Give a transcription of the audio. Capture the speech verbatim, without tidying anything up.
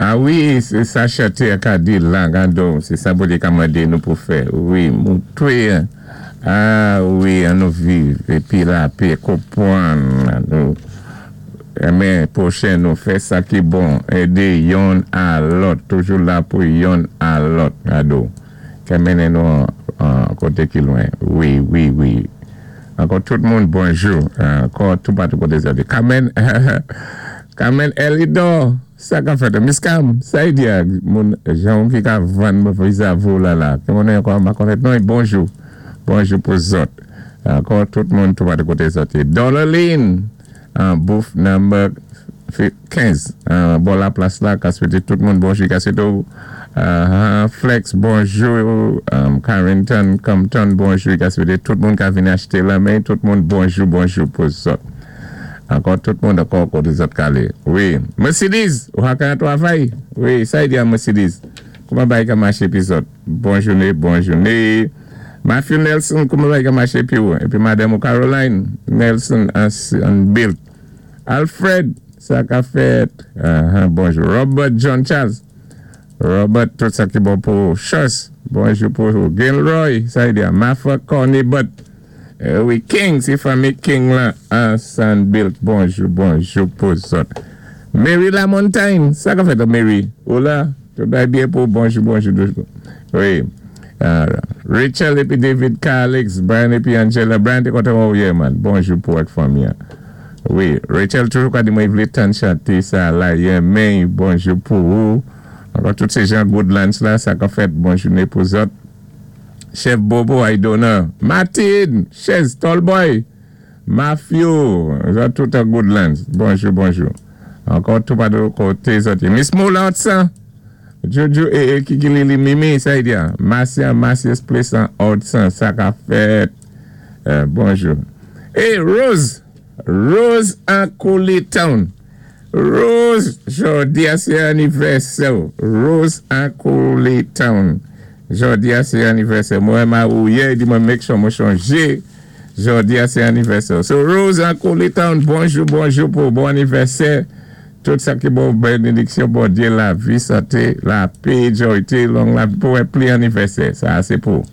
A wi, sé sa chanté a ka di la, gadon, sé sa Bondyé ka mandé nou pou fè. Wi, moutwé, a wi, an nou viv, épi lapè, konpwann, nou, renmen pwochen nou, fè sa ki bon, édé youn a lòt, toujou la pou youn a lòt, gadon, ka mennen nou an koté ki lwen. Wi, wi, wi. Ankò tout moun, bonjou. Ankò tout patou koté sa. Carmen, Carmen Elidor, sa ka fèt. Miss Cam, sa y di a, moun jan ki ka vann viza vou la la. Ki moun ankò ma konèt non, bonjou. Bonjou pou zòt. Ankò tout moun tout patou koté zòt. Dollarline, an booth number kenz. Bon la plas la, ka swété tout moun bonjou. Ka swété ou Flex, bonjou. Carrington, Compton, bonjou. Ka swété tout moun ka vini achté la men. Tout moun bonjou, bonjou pou zòt. Ankò tout moun ankò koté zòt kalé. Wi. Mercedes, ou ka travay? Wi, sa y di a Mercedes. Kouman bagay ka maché pi zòt? Bon jouné, bon jouné. Matthew Nelson, kouman bagay ka maché pi ou? Épi Madame Caroline Nelson an Bill. Alfred, sa ka fèt. Bonjou. Robert John Charles. Robert, tout sa ki bon pou Chos. Bonjou pou Gilroy, sa y di a. Mafa Corny Butt. Wi, King, sé fanmi King la an Sandbilt. Bonjou, bonjou pou zòt. Mary LaMontagne, sa ka fèt Mary? Ou la? Tout bagay byen pou bonjou, bonjou. Wi. Rachel épi David Calix, Brian épi Angela. Brian te kontan ou yé man. Bonjou pou ak fanmi. Wi, Rachel toujou ka di mwen vlé tann chanté sa la yé men, bonjou pou ou. Ankò tout sé jan Goodlands la, sa ka fèt bon jouné pou zòt. Chef Bobo Aidona, Martin, Chez Tallboy, Matthew, zòt tout a Goodlands. Bonjou, bonjou. Ankò tout patou koté zòt. Miss Moula sa. Jojo e e Kiki Lili Mimi, sa y di a. Marcia, Marcia's Place an Hudson, sa ka fèt. Bonjou. E Rose, Rose an Coley Town. Rose, jòdi a sé anivèsè. Rose an Coley Town. Jòdi a sé anivèsè. Mwen ma ou yé, di mwen make sure mwen chonjé. Jòdi a sé anivèsè. So Rose an Coley Town, bonjou, bonjou pou bon anivèsè. Tout sa ki bon bénédiksyon, Bondyé, lavi, santé, lapè, joyté, long lavi, pou wè pli anivèsè. Sa sé pou.